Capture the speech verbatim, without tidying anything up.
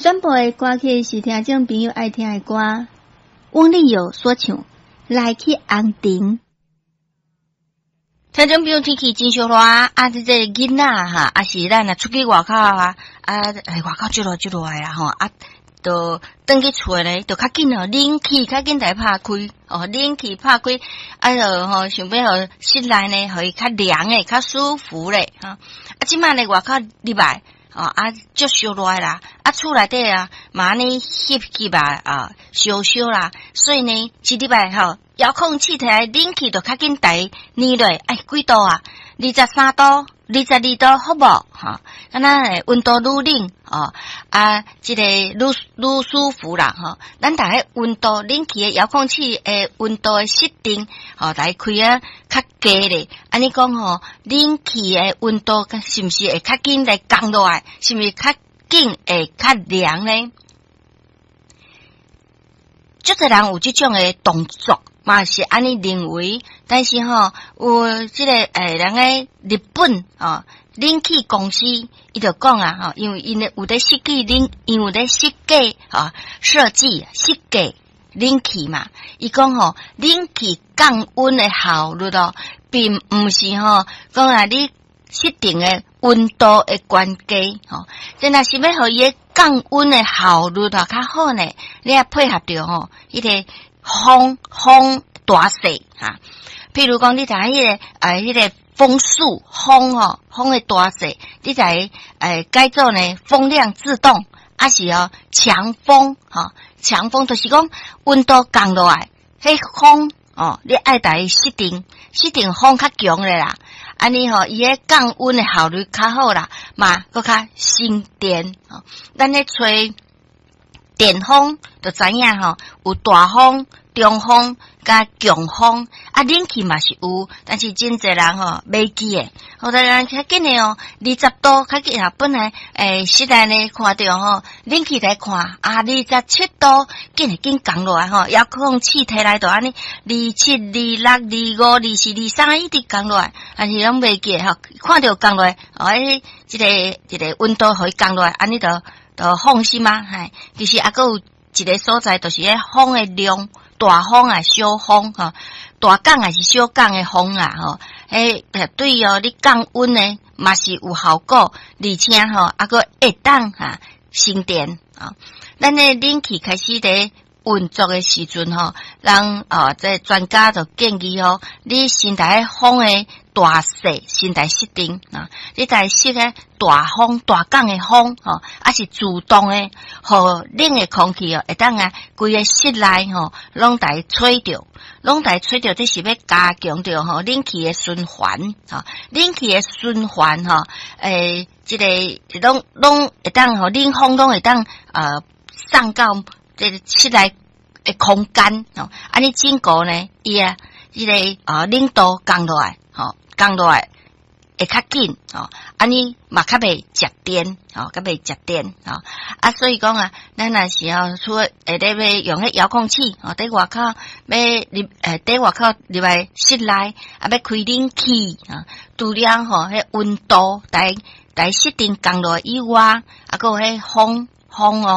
選播的歌曲是聽眾朋友愛聽的歌，翁立友所唱《來去紅塵》。聽眾朋友，天氣真燒熱啊！這個囡仔哈，啊是咱若出去外口啊，啊外口足熱足熱的啊吼啊，就轉去厝咧，就較緊哦，冷氣較緊來拍開哦，冷氣拍開，啊就吼想欲予室內呢，予伊較涼的，較舒服咧哈。啊，這擺咧外口入來哦，啊足燒熱啦，啊厝內底啊嘛按呢翕翕啊啊燒燒啦，所以呢，一入來吼，遙控器提來冷氣就較緊台捏落，哎，幾度啊？二十三度、二十二度，好無？哈，敢若會溫度愈冷哦，啊，這個愈愈舒服啦，吼。咱逐个溫度冷氣的遙控器的溫度的設定，吼，來開啊較低咧。按呢講吼，冷氣的溫度是毋是會較緊來降落來？是毋是較緊會較涼呢？足濟人有這種的動作，嘛是按呢認為，但是吼有這個欸人个日本哦冷氣公司，伊就講啊吼，因為𪜶有咧設計冷，𪜶有咧設計啊設計設計冷氣嘛，伊講吼冷氣降溫的效率哦，並毋是吼講啊你設定的溫度的懸低吼，這若是欲予伊的降溫的效率啊較好呢，你愛配合著吼，彼個風風大細哈，譬如講你知彼個呃彼個風速風吼風的大細，你來呃改做呢風量自動，抑是哦強風吼強風就是講溫度降落來，彼風哦你愛共伊設定設定風較強的啦，按呢吼伊彼降溫的效率較好啦，嘛閣較省電吼。咱咧吹電風就知影吼，有大風、中風佮強風，啊冷氣嘛是有，但是真濟人吼袂記的。予咱較緊的哦，二十度較緊啊，本來欸室內呢看著吼，冷氣來看啊，二十七度，緊會緊降落來吼，遙控器提來就按呢，二七、二六、二五、二四、二三，一直降落來，但是攏袂記吼，看著降落來，哦，彼這個這個溫度予伊降落來，按呢就就放心啊，嘿，其實猶閣有一個所在，就是彼風的量，大風啊，小風吼，大降抑是小降的風啊，吼，彼對哦，你降溫呢嘛是有效果，而且吼，猶閣會當哈省電啊。咱的冷氣開始佇運作的時陣吼，人哦，這專家就建議吼，你先共彼風的大細先來設定啊，你來設个大風大降的風吼，抑是自動的，予冷的空氣哦，會當啊，規个室內吼，攏共吹著，攏共吹著，這是欲加強著吼冷氣的循環，吼，冷氣的循環吼，欸，這個攏攏會當予冷風攏會當呃送到這個室內的空間吼，按呢整個呢，伊啊，這個啊冷度降落來，吼，降落來會較緊，吼，按呢嘛較袂食電，吼，較袂食電，吼，啊，所以講啊，咱若是吼，除了會咧欲用彼遙控器，吼，佇外口欲入，欸，佇外口入來室內，啊，欲開冷氣，啊，除了吼，彼溫度來來設定降落以外，啊，閣有彼風風哦。